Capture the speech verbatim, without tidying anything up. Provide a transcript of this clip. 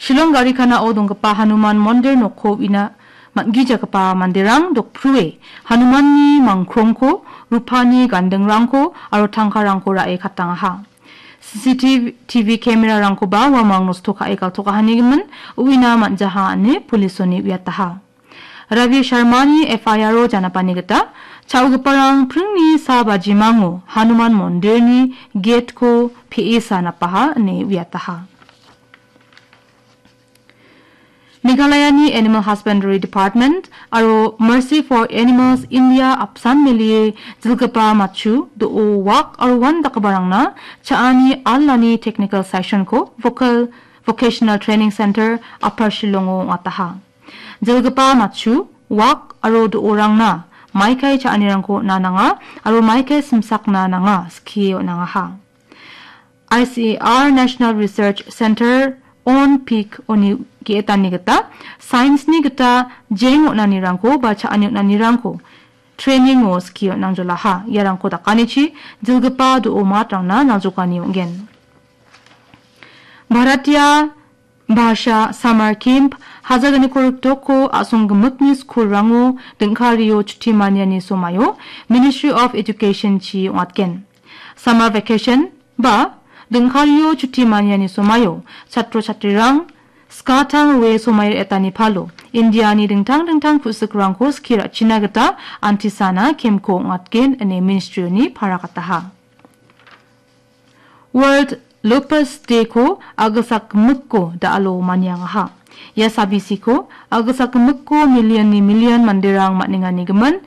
Shillong Garikanao donggipa Hanuman Mondir nokko uina man·gijagipa manderang dokprue Hanumanni mangkrongko, rupani gandingrangko aro tangkarangko ra·e katangaha. C C T V camera-rangkoba uamang nosto ka·e galtokahanigimin uina man·jaha ine polisoni uiataha. Ravi Sharmani F I R-o janapani gita cha·ogiparang pringni sa bajimango Hanuman Mondirni gate-ko pe·esa napaha ine uiataha. Meghalayani Animal Husbandry Department aro Mercy for Animals India apsan melie jilgipa matchu, do·o, wak aro uan dakgiparangna cha·ani alani technical session-ko Vocal Vocational Training Center Upper Shillong-o ong·ataha. Jilgipa matchu, wak aro do·orangna maikai cha·anirangko on·a nanga aro maikai simsakna nanga skie on·angaha. I C A R National Research Center on peak-oni ge·etani gita science-ni gita jeng on·anirangko ba cha·ani on·anirangko training-o skie on·angjolaha. Iarangko dakanichi jilgipa do·o matrangna naljokani ong·gen. Bharatiya Bhasha Summer Camp, hajalgniko riktoko a·songgimikni skulrango dingkario chuti maniani somaio Ministry of Education-chi ong·atgen. Summer vacation ba dingkario chuti maniani somaio chatro chatrirang skatang rue somai re·atani palo Indiani dingtang dingtang ku·sikrangko skie ra·china gita antisana camp-ko ong·atgen ine ministry-oni paragataha. World Lupus Day-ko a·gilsakgimikko da·alo maniangaha. Ia sabisiko a·gilsakgimikko million-ni million manderang man·enganigimin